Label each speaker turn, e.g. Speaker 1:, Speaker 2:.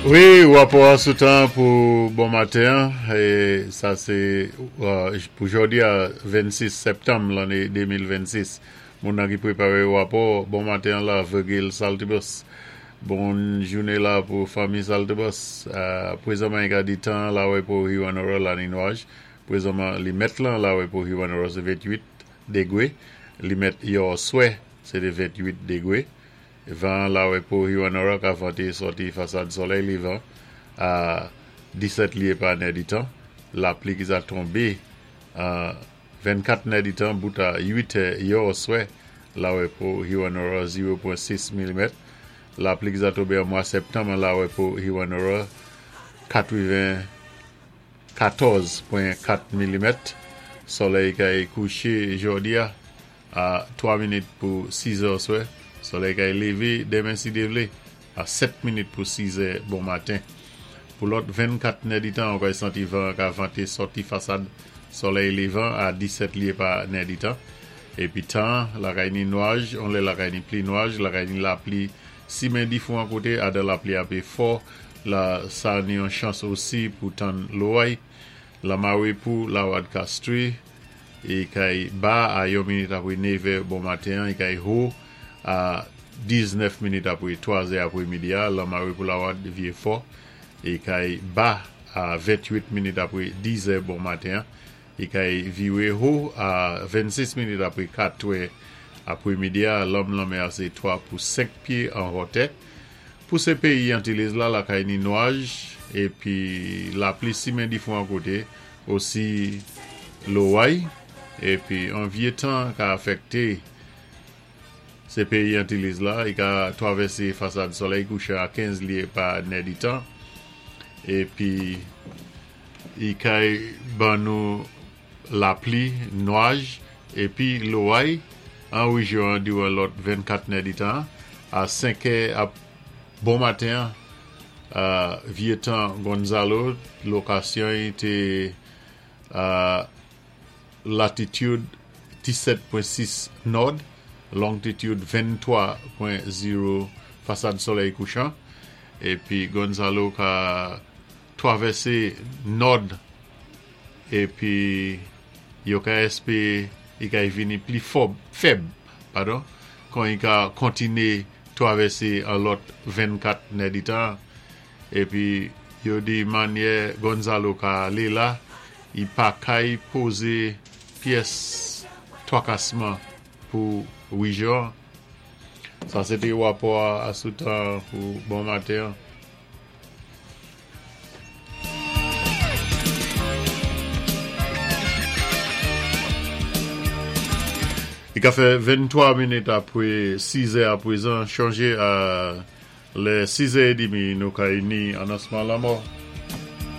Speaker 1: Wi, rapò a sou tan pou bon maten an, e sa sé pou jòdi a 26 sèptanm lanné 2026. Moun nan ki préparé rapò bon maten an la, Virgil Saltibus. Bon jouné la pou fanmi Saltibus. Prezanman i ka di tan an la wè pou Hewanorra la ni nwaj. Prezanman li mèt lan la wè pou Hewanorra sé 28 degwé. Li mèt yòswè sé té 28 degwé. Van an lawè pou Hewanorra ka vante sòti fasad solèy levan a 17 lye pa nèditan. Lapli ki sa tonbe an 24 nèditan bout a 8 è yòswè lawè pou Hewanorra 0.6 milimèt. Lapli ki sa tonbe an mwa septanm an lawè pou Hewanorra 94.4 milimèt. Solèy kay kouche jòdi a. A 3 minit pou 6 zè oswè, solèy kay leve demen si Dye vle, a 7 minit pou 6 zè bon maten. Pou lòt 24 nèditan, ou kay santi van an ka vante sòti fasad solèy levan a 17 lye pa nèditan. Epi tan an, lakay ni nwaj, on lè lakay ni pli nwaj, lakay ni lapli simen difwan kote, adan lapli ape fò, la sa ni yon chans osi pou tann loway. Lamare pou Lawad Kastri. E kay ba a yon minit apre nevè bon maten an, e kay ho a 19 minit apre twazè apre midi a, Lanmare pou Lawad vye fò, e kay ba a 28 minit apre dizè bon maten an, e kay vire ho a 26 minit apre katrè apre midi a, lanm lanmè a se 3 pou 5 pye an hòtè. Pou se peyi Antilles la, lakay ni nwaj, epi lapli simen difwan kote, Osi loway epi an vye tan ka afèkte se peyi Antilles la, i ka twavèse fasad solèy kouchan a 15 lye pa nèditan epi i kay ban nou lapli, nwaj epi loway an rejyon an diran lòt 24 nèditan a 5 è ap Bon maten an, vye tan Gonzalo, lokasyon y te a latitude 17.6 nord, longitude 23.0 fasad solèy kouchan, epi Gonzalo ka twavèse nord epi yo ka espere i ka vini pli fòb, fèb, padon, kon i ka kontine twavèse an lòt 24 nèditan, epi yo di manyè Gonzalo ka ale la, i pa kay poze pyès twakasman pou rejyon an. Sa se te rapò a sou tan pou bon maten an. Li ka fè 23 minit apre 6 è aprezan. Chonje a lè 6 è edimi nou ka ini anonsman lanmò.